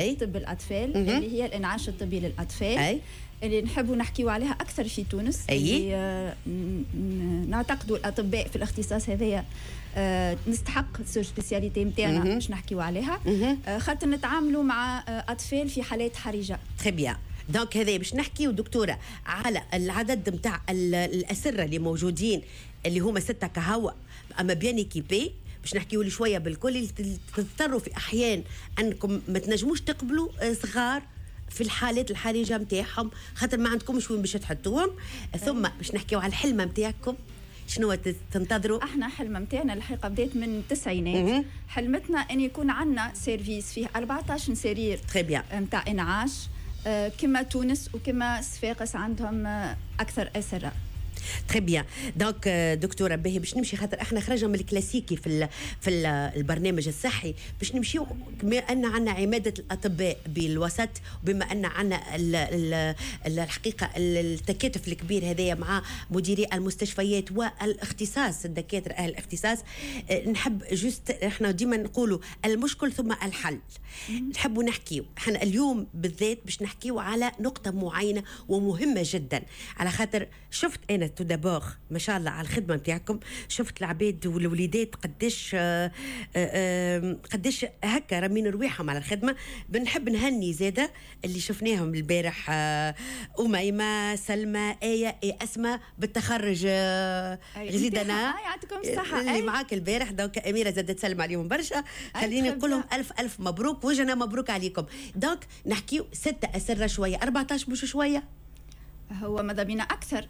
طب الاطفال اللي هي الانعاش الطبي للاطفال. اللي نحبوا نحكيو عليها اكثر في تونس. اللي نعتقدوا الاطباء في الاختصاص هذايا نستحق spécialité نتاعنا باش نحكيو عليها، خاطر نتعاملوا مع اطفال في حالات حرجه. très bien، donc هذا باش نحكيو دكتورة على العدد نتاع الاسرة اللي موجودين، اللي هما 6 كهو اما bien équipés. باش نحكيو لي شوية بالكل اللي تضطروا في احيان انكم ما تنجموش تقبلوا صغار في الحالات الحرجة نتاعهم، خاطر ما عندكمش وين باش تحطوهم. ثم باش نحكيو على الحلمة نتاعكم، شنو تنتظروا؟ احنا حلمة نتاعنا الحقيقة بدات من التسعينات. حلمتنا ان يكون عندنا service فيه 14 سرير très bien نتاع انعاش، كما تونس وكما صفاقس عندهم اكثر اسره. très bien، donc دكتورة باهي، باش نمشي خاطر احنا خرجنا من الكلاسيكي في البرنامج الصحي، باش نمشيو بما ان عندنا عماده الاطباء بالوسط، وبما ان عندنا الحقيقة التكاتف الكبير هذايا مع مديري المستشفيات والاختصاص، الدكاترة اهل الاختصاص، نحب juste احنا ديما نقولوا المشكل ثم الحل. نحبوا نحكيو احنا اليوم بالذات باش نحكيو على نقطة معينة ومهمة جدا، على خاطر شفت انا tout d'abord ما شاء الله على الخدمة نتاعكم، شفت العباد والوليدات قداش قداش هكا رامين رواحهم على الخدمه. بنحب نهني زاده اللي شفناهم البارح، اميمه، سلمى، ايه، اسماء بالتخرج غزيدنا. يعطيكم الصحه. اللي معاك البارح، donc اميره زادت تسلم عليهم برشا. خليني نقول لهم الف الف مبروك وجنا مبروك عليكم. donc نحكيو 6 اسره شويه، 14 مش شويه؟ هو ماذا بينا اكثر،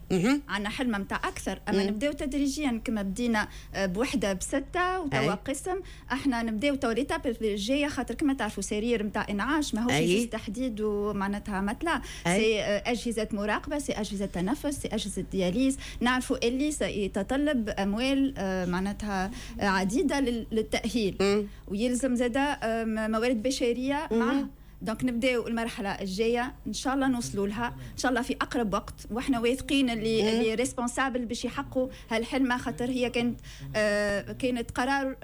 عندنا حلمه نتاع اكثر، اما نبداو تدريجيا كما بدينا بوحده ب6 وتوا قسم. احنا نبداو تو l'étape الجايه، خاطر كما تعرفوا سرير نتاع انعاش ماهوش juste تحديد ومعناتها matelas، c'est اجهزة مراقبه، c'est اجهزة تنفس، c'est اجهزة dialyse. نعرفوا اللي سيتطلب اموال معناتها عديدة للتاهيل ويلزم زاده موارد بشرية معه. donc نبداو المرحلة الجايه، ان شاء الله نوصلوا لها ان شاء الله في اقرب وقت، واحنا واثقين اللي les responsables باش يحققوا هالحلمه، خاطر هي كانت قرار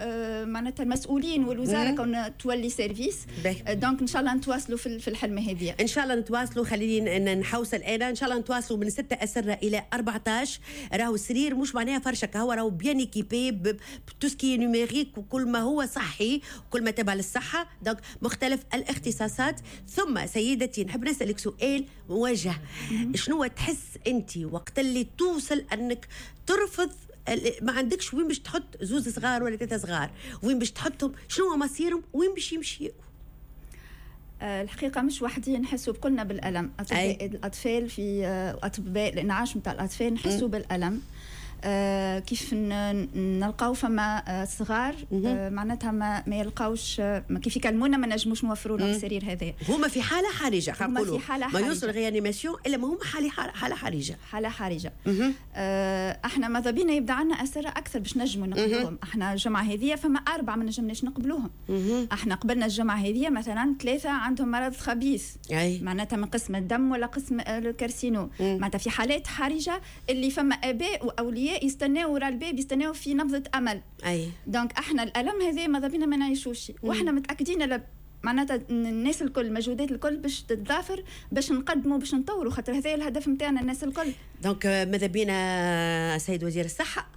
معناتها المسؤولين والوزارة كون تولي service. donc ان شاء الله نتواصلوا في الحلمة هذه. ان شاء الله نتواصلوا. خليني نحوصل انا، ان شاء الله نتواصلوا من 6 اسره الى 14. راهو السرير مش معناها فرشه، هو راهو bien équipé ب tout ce qui est numérique وكل ما هو صحي وكل ما تبع للصحه، donc مختلف الاختصاصات. ثم سيدتي نحب نسالك سؤال موجه، شنو تحس انت وقت اللي توصل انك ترفض، ما عندكش وين باش تحط زوز صغار ولا 3 صغار، وين باش تحطهم؟ شنو مصيرهم؟ وين باش يمشيوا؟ الحقيقة مش وحدي، نحسوا بكلنا بالالم. اطباء الاطفال في اطباء الانعاش نتاع الاطفال نحسوا بالالم كيف نلقاو فما صغار معناتها ما يلقاوش، كيف يكلمونا ما نجموش نوفروا لهم السرير هذا. هما في حاله حرجه. هما في حاله حرجه، ما يوصل réanimation الا ما هما حاله حرجه. حاله حرجه. احنا ماذا بينا يبدا عندنا اسره اكثر باش نجموا نقبلوهم. احنا الجمعة هذه فما 4 ما نجمناش نقبلوهم. احنا قبلنا الجمعة هذه مثلا 3 عندهم مرض خبيث، معناتها من قسم الدم ولا قسم ال carcino، معناتها في حالات حرجه اللي فما اباء واولياء يستناو ورا الباب، يستناو في نبضة امل. Donc احنا الالم هذا ماذا بينا ما نعيشوش، واحنا متاكدين معناتها الناس الكل، المجهودات الكل باش تتضافر باش نقدموا، باش نطوروا، خاطر هذا الهدف نتاعنا الناس الكل. donc ماذا بينا سيد وزير الصحه،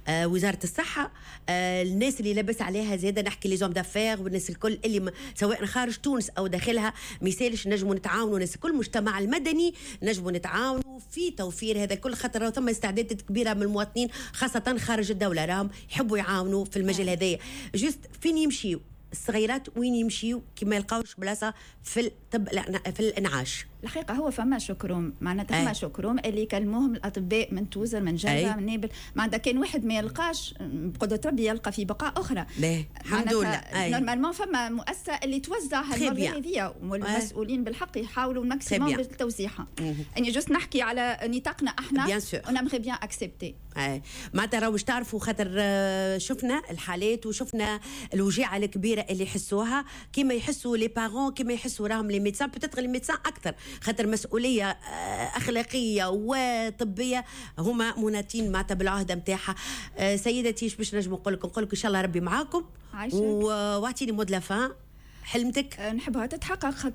وزارة الصحه، الناس اللي لابس عليها زاده، نحكي les hommes d'affaires والناس الكل اللي سواء خارج تونس او داخلها، ما يسالش نجموا نتعاونوا الناس الكل، المجتمع المدني، نجموا نتعاونوا في توفير هذا الكل، خاطر ثم استعدادات كبيرة من المواطنين خاصة خارج الدوله، راهم يحبوا يعاونوا في المجال هذايا. juste فين يمشيوا الصغيرات؟ وين يمشيوا كي ما يلقاوش بلاصة في الطب في الانعاش؟ الحقيقة هو فما shock room، معناتها فما shock room اللي يكلموهم الاطباء من توزر، من جربه، من نابل، معناتها كان واحد ما يلقاش، بقدرة ربي يلقى في بقعة اخرى. الحمد لله. normalement فما مؤسسة اللي توزع هالمرضى هذيا، والمسؤولين بالحق يحاولوا ال maximum بالتوزيعها. اني juste نحكي على نطاقنا احنا، on aimerait bien accepter. معناتها راهو باش تعرفوا، خاطر شفنا الحالات وشفنا الوجيعه الكبيرة اللي يحسوها، كيما يحسوا les parents، كيما يحسوا راهم les médecins، peut-être les médecins اكثر، خاطر مسؤولية اخلاقية وطبيه هما مناطين معناتها بالعهده نتاعها. سيدتي ايش باش نجم نقول لك؟ نقول لك ان شاء الله ربي معاكم، واعطيني mot de la fin. حلمتك؟ نحبها تتحقق.